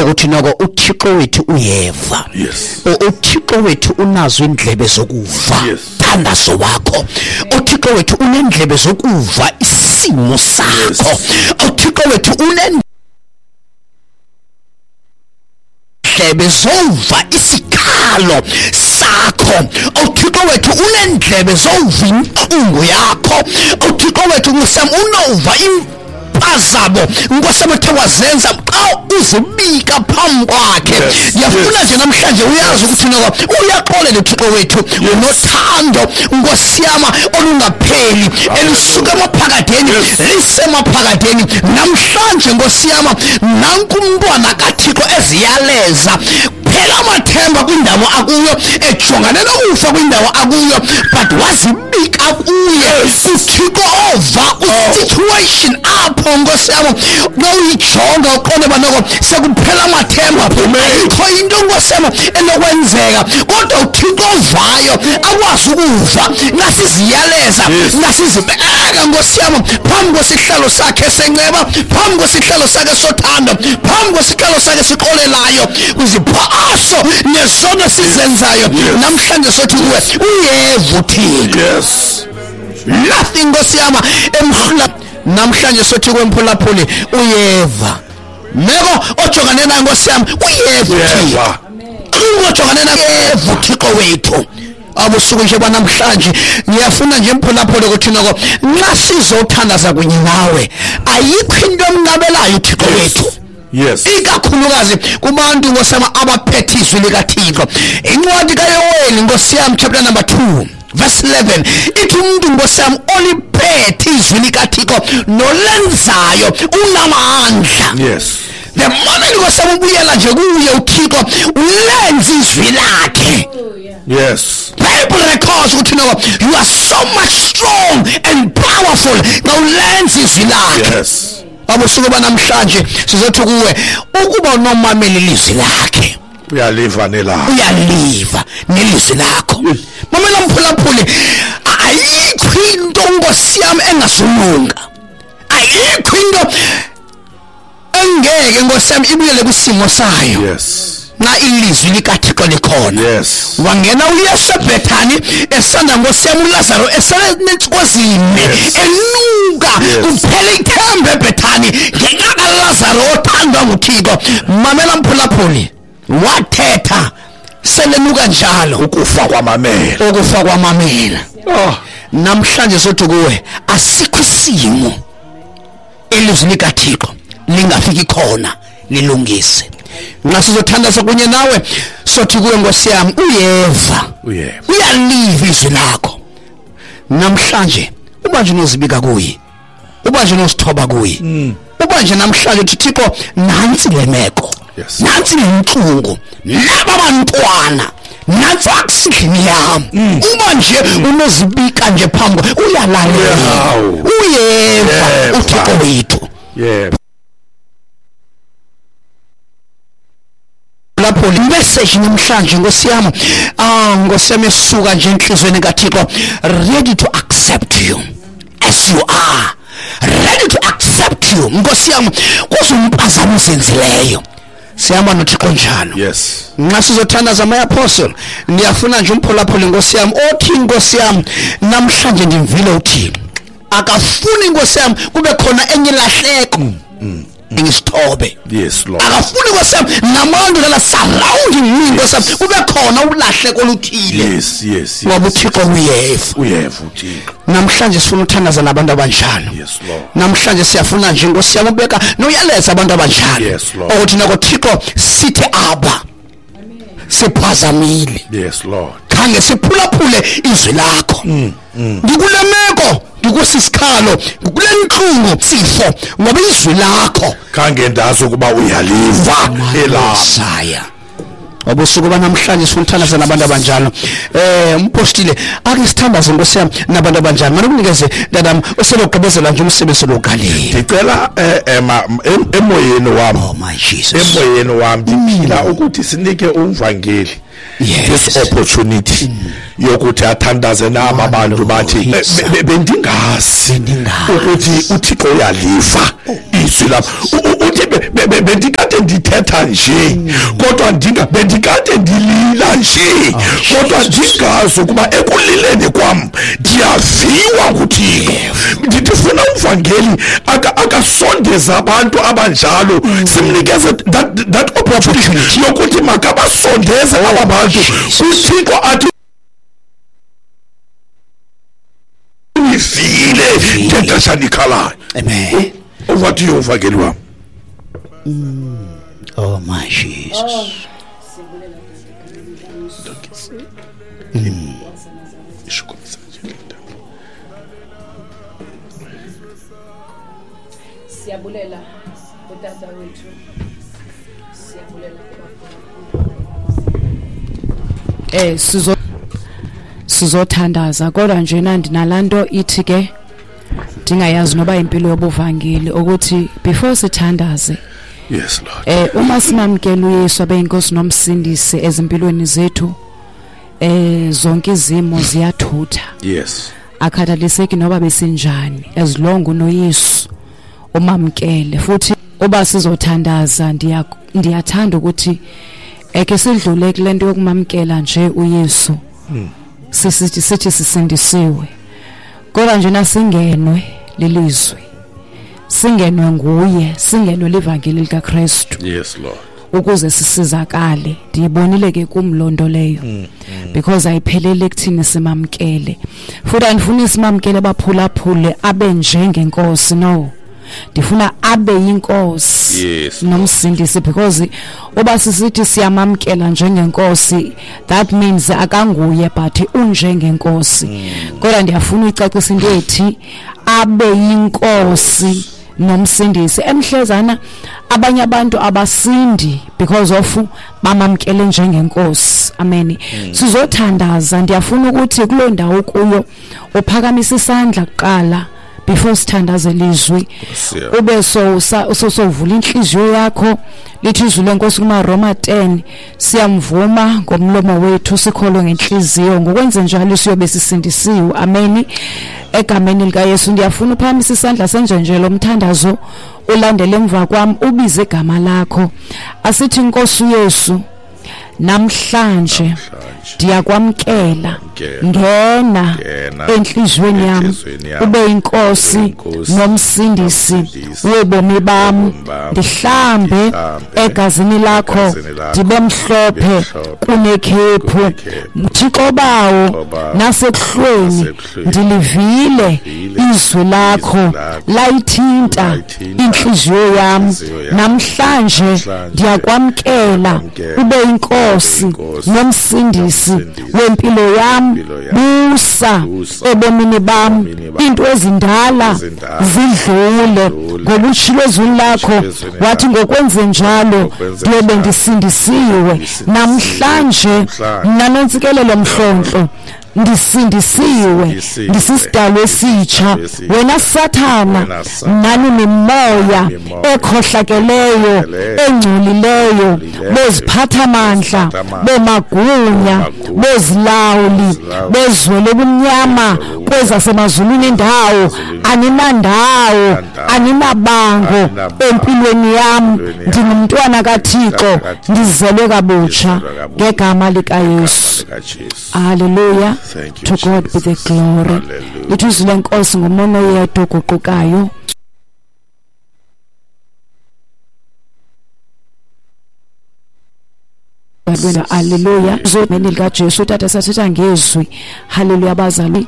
Ukuthi noko uThixo wethu uyeva. UThixo wethu unazo indlebe zokuva thandazo wakho. UThixo wethu unendlebe zokuva isimo sakho. UThixo wethu unendlebe zova isikhalo sakho. UThixo wethu unendlebe zova intlungu yakho. UThixo wethu ngusam unova impazamo Nkosi ethe wazenza xa uzibika phambi kwakhe. Ndiyafuna nje namhlanje uyazi ukuthi noko uyaxolela uThixo wethu unothando Nkosi yam olungapheli elisuka emaphakadeni lisemaphakadeni. Namhlanje Nkosi yam nanku umntwana kaThixo eziyaleza phela amathemba kwindawo akuyo, ejongane nokufa kwindawo akuyo, but wazibika kuye uThixo ova kwi-situation apho Nkosi yam xa uyijonga uqonde uba noko sekuphela amathemba, ayikho into Nkosi yam enokwenzeka, kodwa uThixo ovayo akwazi ukuva ngasiziyaleza ngasizibeka Nkosi yam phambi kwesihlalo sakhe senceba, phambi kwesihlalo sakhe sothando, phambi kwesihlalo sakhe sixolelayo kwiziphaso nezono sizenzayo. Namhlanje sothi kuwe uyeva uThixo. Nothing Nkosi yam emhlula. Namhlanje sothi kwemphulaphuli uyeva. Meko ojongane nayo Nkosi yam uyeva uThixo. Ojongane nayo uyeva uThixo wethu. Abusuku nje banamhlanje ngiyafuna nje mphulaphuli ukuthi noko nxa sizothandaza kunye nawe ayikho into emnqabelayo uThixo wethu. Ikakhulukazi kubantu Nkosi yam abaphethe izwi likaThixo. Incwadi kaYoweli Nkosi yam chapter number 2 verse 11 ithi umuntu Nkosi yam oliphethe izwi likaThixo nolenzayo unamandla. The moment Nkosi yam ubuyela nje kuye uThixo ulenza izwi lakhe. Bible records ukuthi no you are so much strong and powerful xa ulenza izwi lakhe. Abusuku banamhlanje sizothi kuwe ukuba unomameli ilizwi lakhe uyaliva nelakho, uyaliva nelizwi lakho. Mamela mphulaphuli, ayikho into Nkosi yam engasulunga, ayikho into engeke Nkosi yam ibuyele kwisimo sayo. Nxa ilizwi likaThixo likhona. Wangena uYesu eBhethani esanda Nkosi yam uLazaro eselenentsuku ezine enuka kuphela ithemba eBhethani ngenxa kaLazaro othandwa nguThixo. Mamela mphulaphuli, wathetha selenuka njalo ukufa kwamamela, ukufa kwamamela. Namhlanje sothi kuwe asikho isimo elizwi likaThixo lingafiki khona lilungise. Nxa sizothandaza kunye nawe sothi kuwe Nkosi yam uyeva, uyaliva izwi lakho. Namhlanje uba nje unozibika kuye, uba nje unosithoba kuye, uba nje namhlanje uthi Thixo nantsi le meko, nantsi le ntlungu, naba bantwana, nantsi akusindlini yam. Uba nje unozibika nje phambi uyalalela, uyeva uThixo wethu. Lapho message namhlanje Nkosi yam, Nkosi yam esuka nje enhlizweni kaThixo, ready to accept you as you are, ready to accept you Nkosi yam kuzompazamo ozenzileyo. Sihamba noThixo njalo. Nxa sizothandaza my apostle, ndiyafuna nje umphulaphuli Nkosi yam othi Nkosi yam namhlanje ndimvile uThixo akafuni Nkosi yam kube khona enye ilahleko ngisithobe. Akafuni Nkosi yam nabantu lala surrounding me Nkosi yam kube khona ulahleko oluthile. Ngoba uThixo uyeva, uyeva uThixo. Namhlanje sifuna uthandaza nabantu abanjalo. Namhlanje siyafuna nje Nkosi yam ubeka noyaleza abantu abanjalo ukuthi nako Thixo sithi aba siphazamile. Khange siphulaphule izwi lakho. Ndikule meko, ndikusisikhalo, ndikule ntlungu sifo ngoba izwi lakho khange ndazi ukuba uyaliva elaya. Obusuku banamhlanje sifuna uthandaza nabantu abanjalo. Umpostile ake sithandaze Nkosi yam nabantu abanjalo. Manje kunikeze dadam oselogqibezela nje umsebenzi lokalile. Ndicela emoyeni wam. Oh my Jesus. Emoyeni wam ndiphila ukuthi sinike umvangeli this opportunity yokuthi athandaze naba bantu bathi bendingazi ukuthi uThixo uyaliva izwi lapho. Uthi Bendikade ndithetha nje, kodwa bendikade ndilila nje, kodwa ndingazi ukuba ekulileni kwam ndiyaviwa nguThixo. Ndifuna umvangeli akasondeza abantu abanjalo, simnikeze that opportunity yokuthi makabasondeze aba bantu kuThixo, athi nivile ngexesha nikhalayo. Amen. Over to you, umvangeli wam. Oh my Jesus. Siyabulela utata wethu, siyabulela. Sizothandaza, kodwa nje ndinalaa nto ithi ke ndingayazi noba impilo yobuvangeli ukuthi before sithandaze. Yes Lord. Uma simamkela uYesu abe inkosi nomsindisi ezimpilweni zethu, zonke izimo ziyathutha. Yes. Akhathaliseki noba besinjani, as long unoYesu umamkele. Futhi uba sizothandaza, ndiyathanda ukuthi eke sidlule kule nto yokumamkela nje uYesu. Sithi sisindisiwe, kodwa nje nasingenwe lilizwi, singenwe nguye, singenwe livangeli likaKristu. Yes Lord. Ukuze sisizakale. Ndiyibonile ke kum loo nto leyo, because ayiphelele ekuthini simamkele. Futhi andifuni simamkele baphulaphule abe njengenkosi, no. Ndifuna abe yinkosi. Yes. Nomsindisi, because uba sisithi siyamamkela njengenkosi, that means akanguye but unjengenkosi. Kodwa ndiyafuna uyicacisa into ethi abe yinkosi nomsindisi. Emhlezana abanye abantu abasindi because of bamamkele njengenkosi. Amen. Sizothandaza. Ndiyafuna ukuthi kuloo ndawo kuyo uphakamise isandla kuqala before sithandaze lizwi, ube sowuvula inhliziyo yakho. Lithi izwi lenkosi kumaRoma 10, siyamvuma ngomlomo wethu, sikholwe ngenhliziyo, ngokwenze njalo siyobe sisindisiwe. Amen. Egameni likaYesu ndiyafuna uphakamise isandla senje nje lo mthandazo, ulandele emva kwam, ubize igama lakho. Asithi, Nkosi uYesu, namhlanje ndiyakwamkela, ngena enhliziyweni yami, ube inkosi nomsindisi wobomi bami, ndihlambe egazini lakho, ndibe mhlophe kunekhephu. Thixo bawo, nasekuhlweni ndilivile izwi lakho, layithinta inhliziyo yami. Namhlanje ndiyakwamkela, ube inkosi nomsindisi wempilo yami, busa ebomini bami, into ezindala zidlule. Ngoba utshilo ezwini lakho wathi ngokwenze njalo ndiyobe ndisindisiwe. Namhlanje mna Nontsikelelo Mhlontlo ndisindisiwe, ndisisidalwa esitsha. Wena Sathana nani mimoya ekhohlakeleyo, engcolileyo, beziphathamandla, bemagunya, bezilawuli, bezwe lobumnyama kwezasemazulwini indawo, aninandawo, aninabango empilweni yami. Ndingumntwana kaThixo, ndizelwe kabutsha ngegama likaYesu. Hallelujah. To God be the glory. Lithi izwi lenkosi ngumono yedwa oguqukayo. Hallelujah. Zomeni likaJesu tata sathetha ngezwi. Hallelujah bazali.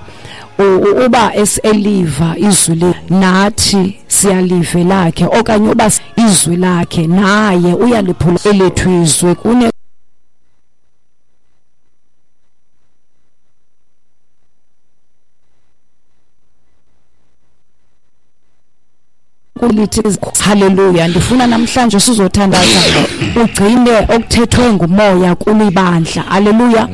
Uba eseliva izwi le nathi siyalive lakhe, okanye uba izwi lakhe naye uyaliphula elethu izwi kune kulithi. Haleluya. Ndifuna namhlanje sizothandaza ugcine okuthethwe ngumoya kulibandla. Haleluya.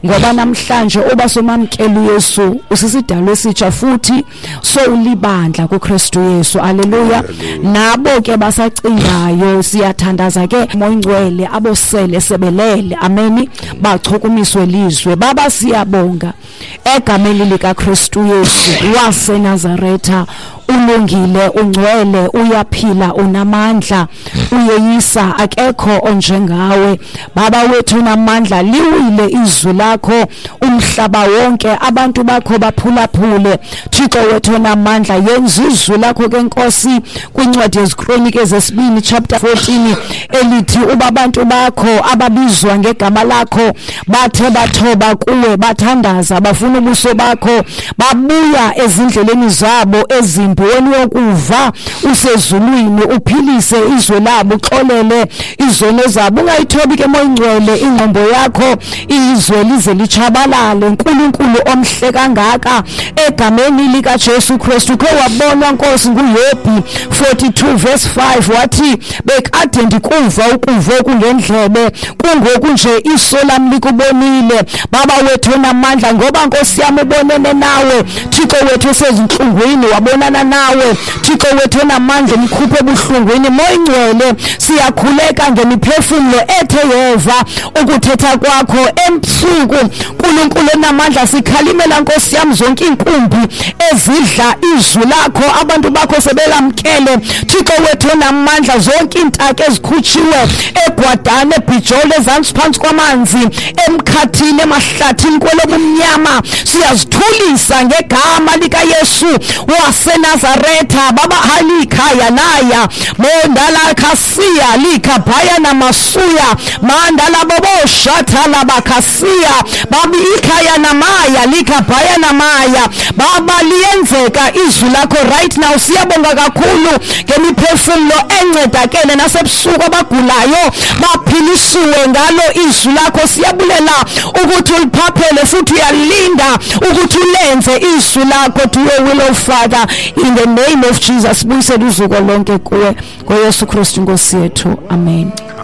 Ngoba namhlanje oba somamkela uYesu usisidalwa esitsha futhi sowulibandla kuKristu Yesu. Haleluya. Nabo ke basacingayo siyathandaza ke Moya Ngcwele abosele sebelele. Amen. Bachukumiswe lizwe. Baba siyabonga egameni likaKristu Yesu waseNazaretha. Ulungile, ungcwele, uyaphila, unamandla, uyeyisa, akekho onjengawe. Baba wethu unamandla, liwile izwi lakho umhlaba wonke, abantu bakho baphulaphule. Thixo wethu onamandla, yenza izwi lakho ke Nkosi kwincwadi yeziKronike zesibini chapter 14 elithi uba abantu bakho ababizwa ngegama lakho bathe bathoba kuwe, bathandaza, bafuna ubuso bakho, babuya ezindleleni zabo ezimbi, wena uyokuva usezulwini, uphilise izwe labo, uxolele izono zabo. Ungayithobi ke Moya Ingcwele ingqombo yakho, izwe lize litshabalale. Nkulunkulu omhle kangaka, egameni likaJesu Kristu, khe wabonwa Nkosi nguYobhi 42 verse 5, wathi bekade ndikuva ukuva okungendlebe, kungoku nje iso lam likubonile. Baba wethu onamandla, ngoba Nkosi yam ubonene nawe, Thixo wethu osezintlungwini wabonana nawe, Thixo wethu onamandla umkhuphe ebuhlungwini. Moya Ingcwele, siyakhuleka ngemiphefumlo ethe yeva ukuthetha kwakho emsuku. Nkulunkulu onamandla, sikhalimela Nkosi yam zonke iinkumbi ezidla izwi lakho, abantu bakho sebelamkele. Thixo wethu onamandla, zonke iintaka ezikhutshiwe egwadane, ebhijolo, ezantsi phantsi kwamanzi, emkhathini, emahlathini, kwelobumnyama, siyazithulisa ngegama likaYesu waseNazaretha. Baba halikhaya naya mondala khasiya likhabhaya namasuya mandala boboshatha labakhasiya babi ikhaya namaya likhabhaya namaya. Baba, liyenzeka izwi lakho right now. Siyabonga kakhulu ngemiphefumlo encedakele nasebusuku, abagulayo baphilisiwe ngalo izwi lakho. Siyabulela ukuthi uliphaphele futhi uyalinda ukuthi ulenze izwi lakho. To your will, O Father, in the name of Jesus. Buyisele uzuko lonke kuwe ngoYesu Kristu Nkosi yethu, amen.